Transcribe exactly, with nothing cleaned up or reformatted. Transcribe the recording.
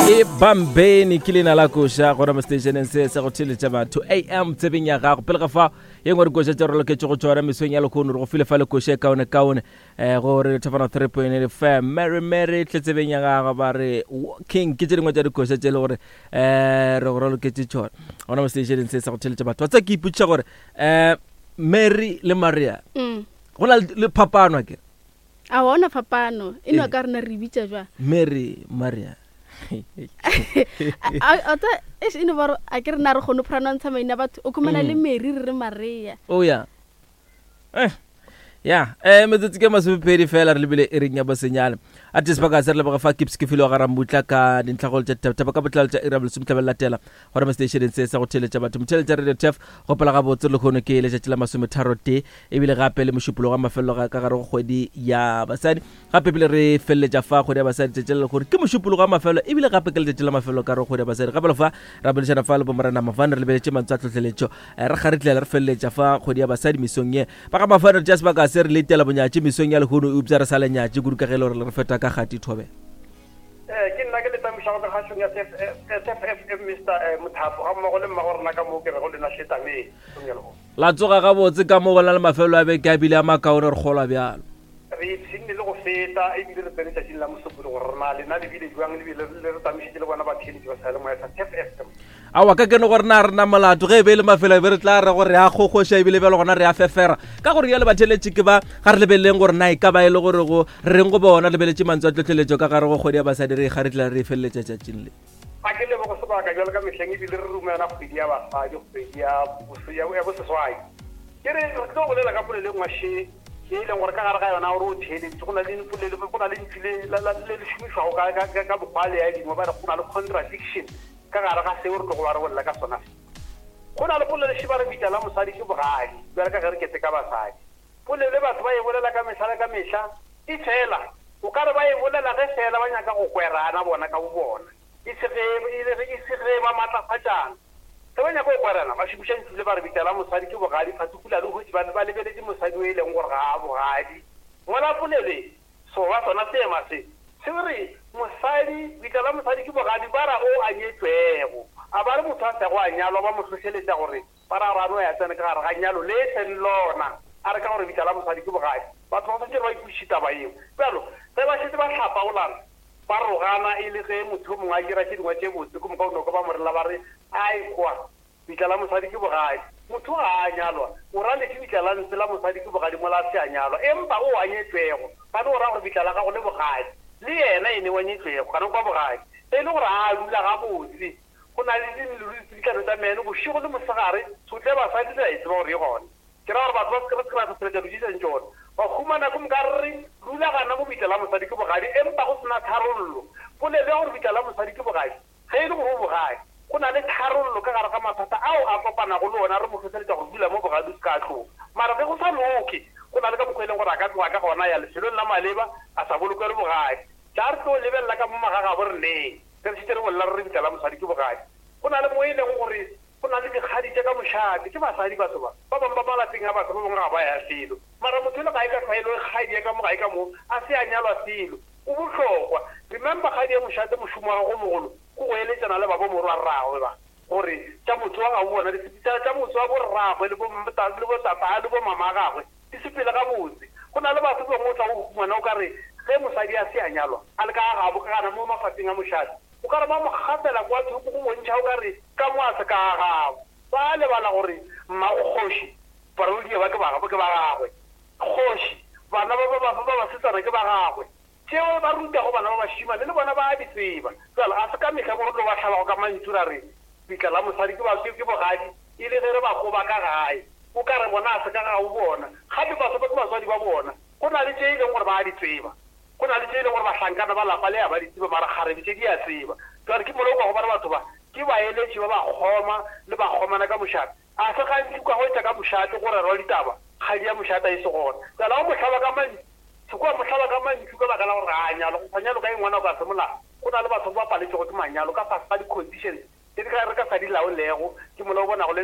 E bambeni ke leina la koša gona mo stationeng se sa go theletša batho am tsebeng ya gago. Pele ga fa ye nngwe dikoša tše re loketše go tšona mesong ya lekgono, re go file fa le koša e kaone kaone um gore thapana three point eight fm Mary Mary tle tsebeng ya gago ba re walking ke tše dingwe tša dikoša tše e le gore um re go raloketše tšona gona mo stationeng se sa go theletša batho. Wa tsa ke ipotšiša gore um Mary le Maria Mm. go na le phapano ke A ona phapano e no Eh. ka rena re bitša jwa Mary Maria. A tsa e no ba a ke rena re kgone pronounce maina batho o khumana le Mary re re Maria. Oh ya eh ya eh metsotso ke masomepedi fela re lebile e reng ya bosenyane a te sebaka se re leboga fa kips ke file wa garamutla ka dintlhagolo tša dithabathaba ka botlalo tša iri ya bolesome tlabela latela gona mo stationeng se sa go theletša batho motheletša radio tef gopola gabotse lekgono ke letšatši la masometharo tee ebile gape le mošupologo wa mafelelo ga ka gare go kgwedi ya basadi gape ebile re feleletša fa kgwedi ya basadi tšatši la lekgono ke mošupologo wa mafelelo ebile gape ke letšatši la mafelelo ka gare go kgwedi ya basadi gape le fa ra boledišana fa le bomorena Mafane re lebeletše mantswe a tlhotlheletšo Eh, re kgaritlela re feleletša fa kgwedi ya basadi mesong ye ba ga Mafane re tša sebaka se re letela bonyatše mesong ya lehono eupša re sa le nyatše kudu ka ge e le gore re feta ka kgati thobe. Eh, ke nna ke le tamišago ka kgašong ya S F F M Mister eh, Mothapo ga mmogo le mmago rena ka moo ke rego lena šetameng mesong ya lehono. La tsoga gabotse ka mo go na le mafelo a beke a bile a makaone re kgolwa bjalo. Re ipshinne le go feta ebile re tsene tšatšing la mosupologo gore rena lena le bile jwang le bile le re tamišitše le bona batheeletši ba seyalemoya sa T F F M. Aowa ka kene gore na rena molato ge e be e le mafelo e be re tla re gore re a kgokgoša ebile bjalo gona re a fefera ka gore jale batheletše ke ba ga re lebeleleng gore na e ka ba e le gore go re reng go bona lebeletše mantswe a tlhotlheletšo ka gare go kgwedi ya basadi re ga re tla re e feleletša tšatšing le. A ke lebogo sebaka jalo ka mehleng ebile re rumela kgwedi ya basadi kgwedi ya bose- ya ya boseswai ke re re tlo bolela ka polelo e nngwe še ye e leng gore ka gare ga yona gore o theeleditše go na le polelo go na le ntšu le la- la- le le šomišwago ka- ka ka- ka mokgwa le ya dingwe ba re go na le contradiction ka gare ga seo re tlogo ba re bolela ka sona se. Go na le polelo še ba re bitla la mosadi ke bogadi bjale ka ge re kete ka basadi polelo e batho ba e bolela ka mehla le ka mehla e fela o ka re ba e bolela ge fela ba nyaka go kwerana bona ka bo bona e se ge e le- e se ge ba matlafatšana ge ba nyaka go kwerana ba šomiša ntšu le ba re bitla la mosadi ke bogadi particularly hwetše ba ba lebeletše mosadi o e leng gore ga a bogadi mola polelo e so ba sona seema se se re mosadi bitla la mosadi ke bogadi ba ra o a nyetšwego a ba re motho a sego a nyalwa ba mo hlohleletša gore ba ra gore a no ya tsene ka gare ga nyalo le e seng lona a re ka gore bitla la mosadi ke bogadi batho ba swanetše gore ba ipotšiše taba eo bjalo ge ba šetse ba hlapaolana ba rogana e le ge motho o mongwe a dira tše dingwe tše botse ke moka o noko ba morela ba re ai kwa bitla la mosadi ke bogadi motho ga a nyalwa o ra lefe bitla la ntse la mosadi ke bogadi mola a se a nyalwa empa o a nyetšwego gane o ra gore bitla la gago le bogadi le yena ene wa nyetšwego gane kwa bogadi e le gore a dula gabotse go na le ditlano tsa meno bošego le mosegare sotle basadi le a e tseba gore e gona ke ra gore batho ba se re se ra hlohleletša dilo tše tsona ba humana ko moka re dula gana mo bitla la mosadi ke bogadi empa go sena tharollo polelo ya gore bitla la mosadi ke bogadi ge e le gore o bogadi go na le tharollo ka gare ga mathata ao a kopanago le ona re mo hlohleletša gore dula mo bogadi o se ka tloga mara ge go sa loke go na le ka mokgwa e leng gore a ka tloga ka gona ya lefelong la maleba a sa bolokelwe bogadi tla re tlo lebelela ka mo magagabo reneng ge re šetše re bolela re re bitla la mosadi ke bogadi go na le mo e leng gore go na le dikgadi tša ka mošate ke basadi batho ba ba bangwe ba malapeng a batho ba bangwe ga ba ya selo mara motho e le ga e ka tlwaelo e kgadi ya ka mo ga e ka mo a se a nyalwa selo o bohlokwa remember kgadi ya mošate mošomo wa gago mogolo ke go eletšana le ba bo morwa rragwe ba gore tša motho wa gabo bona di se- tša tša motho wa borragwe le bo le bo tata le bo mama a gagwe di sepele gabotse go na le batho bangwe o tla go humana o ka re ge mosadi a se a nyalwa a le ka gabo ka gana mo mafapheng a mošate o ka re ba mo gafela kwa thoko go bontšha o ka re ka mo a se ka gabo ba lebala gore mmago kgoši barwedi ba ke ba ke ba gagwe kgoši bana ba ba ba ba basetsana ke ba gagwe tšeo ba rutago bana ba bašimane le bona ba a di tseba jalo a se ka mehla mo re tlo ba hlabago ka mantšu ra re bitla la mosadi ke ba ke ke bogadi e le ge re ba koba ka gae o ka re bona a se ka gabo bona gape batho ba ke batswadi ba bona go na le tše e leng gore ba a di tseba go na le tše e leng gore bahlankana ba lapa le ya ba di tseba mara kgarebe tše di a tseba jale ke mola o kwa go ba re batho ba ke baeletši ba bakgoma le bakgomana ka mošate a se gantši ka go etša ka mošate go rerwa ditaba kgadi ya mošate e se gona jale o mohlaba ka mantšu se kwa mohlaba ka mantšu ka baka la gore ga a nyalwa go sa nyalo ka e ngwana o ka se molao go na le batho ba paletšego ke manyalo ka fase ga di-conditions tse di ka re ka sa di laolego ke mola o bonago le